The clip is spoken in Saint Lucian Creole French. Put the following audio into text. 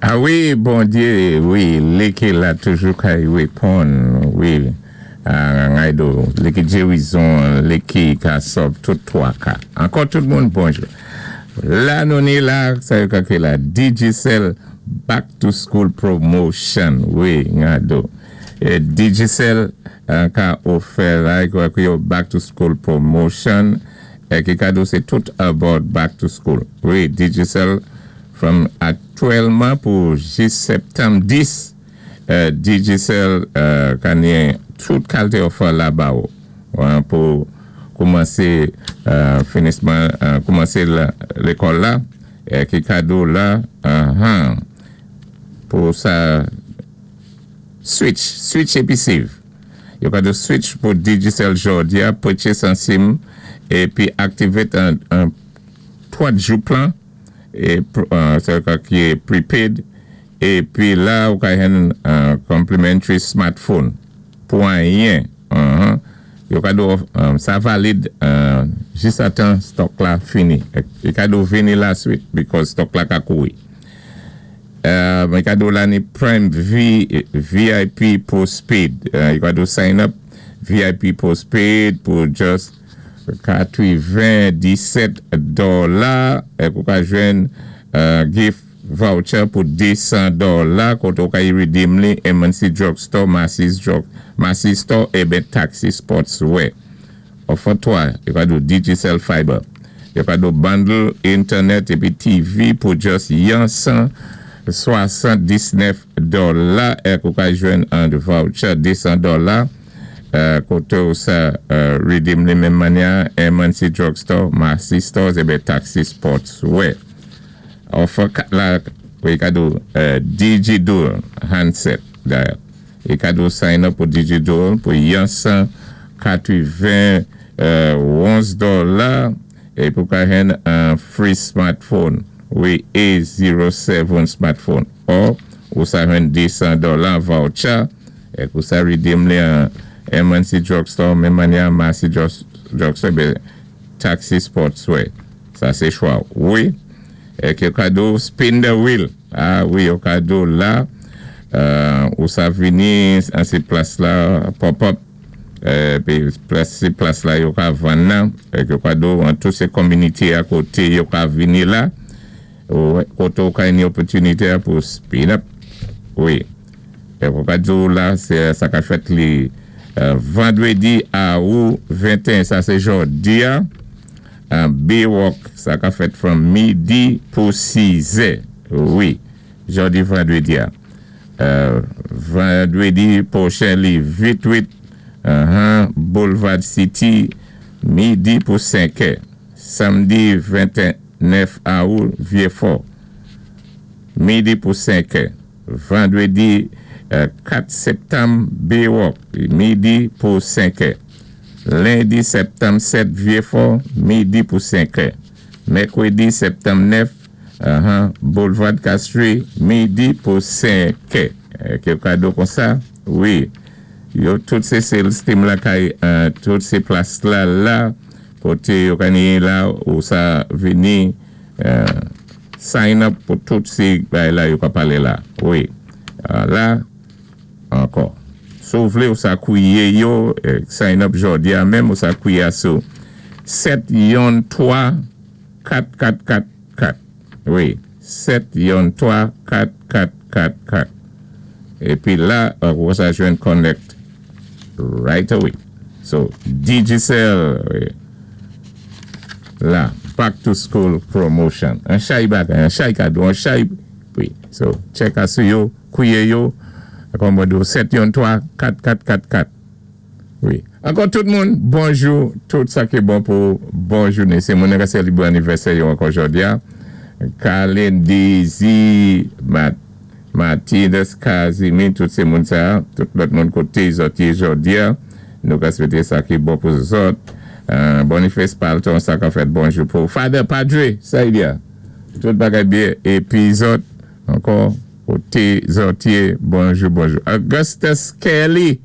A wi, Bondyé, wi, li ki la toujou kay wéponn, wi, ngay do, li ki jérizon, li ki ka sòv tout twaka. Ankò tout moun bonjou. La nou ni la, sa yo ka kwé la Digicel back to school promotion, wi, nga do. Digicel ka ofè la, yo back to school promotion, ki kado sé tout about back to school. Wi, Digicel from aktyèlman pou jis septanm 10, Digicel ka ni tout kalité offer la ba ou pou koumansé finisman, koumansé lékòl la, ki kado la, pou sa switch, switch épi save. Yo kado switch pou Digicel jòdi a, purchase an SIM, épi activate an 30 jou plan, sa ka ki prepaid, épi la ou ka jwenn complimentary smartphone pou anyen. Yo kado sa valid jis atan stock la fini. Yo kado vini la swit because stock la ka kouri. Yo kado la ni Prime VIP postpaid. Yo kado sign up VIP postpaid pou just 97 dola. Ek ou ka jwenn gift voucher pou 200 dola koté ou ka y redeem li M&C Drugstore, Macy's Drug, Macy's Store ében Taxi Sportswear. Offer 3, yo kado Digicel Fiber. Yo kado bundle internet épi TV pou just yon 179 dola ek ou ka jwenn an voucher 200 dola koté ou sa redeem li menm mannyè M&C Drugstore, Macy's Stores ében Taxi Sportswear. Offer 4 la, yo kado Digidual handset. Yo kado sign up pou Digidual pou yon 191 dola e pou ka jwenn an free smartphone. Wi, A07 smartphone. Or, ou sa jwenn 200 dola voucher e pou sa redeem li an M&C Drugstore, menm mannyè Macy's Drugstore, bé Taxi Sportswear. Sa sé chwa. Wi, e ki kado spin the wheel. Ah wi, yo kado la, ou sa vini an sé plas la, pop-up, pi sé plas la yo ka vann nan, e ki kado an tout sé community a koté yo ka vini la, koté ou ka ni opòtinité pou spin up. Wi. E pou kado la, sé sa ka fèt li vandrédi a ou 21, sa sé jòdi a, Baywalk, sa ka fèt from midi pou 6 è. Wi, jòdi vandrédi a. Vandrédi pwochen li 28, Boulevard City, midi pou 5 è. Samdi 29 aout, Vieux-Fort, midi pou 5 è. Vandrédi 4 septanm, Baywalk, midi pou 5 è. Lendi septanm 7, Vieux-Fort, midi pou 5 è. Mèkwédi septanm 9, Boulevard Castries, midi pou 5 è. Ki kado kon sa? Wi. Yo tout sé sales team la kay, tout sé plas la la, koté yo ka ni la ou sa vini sign up pou tout sé bagay la yo ka palé la. Wi. La, ankò. Si ou vlé ou sa kwiyé yo, sign up jòdi a menm ou sa kwiyé a sou 7 yon 3 4 4 4 4. Wi, 7 yon 3 4 4 4 4. Épi la, ou sa jwenn connect right away. So, Digicel, wi. La, back to school promotion. An chay bagay, an chay kado, an chay, wi. So, check a sou yo, kwiyé yo, kon mwen di 7 yon 3 4 4 4 4. Wi. Ankò tout moun, bonjou, tout sa ki bon pou bon jounen. Sé moun ka sélébwé anivèsè yo ankò jòdi a. Kalin, Daisy, Martinez, Kazimi, tout sé moun sa, tout lòt moun koté zòt yé jòdi a. Nou ka swété sa ki bon pou zòt. Boniface Palton, sa ka fèt bonjou pou Father Padre, sa y di a. Tout bagay byen. Épi zòt, ankò, koté zòt yé, bonjou, bonjou. Augustus Kelly.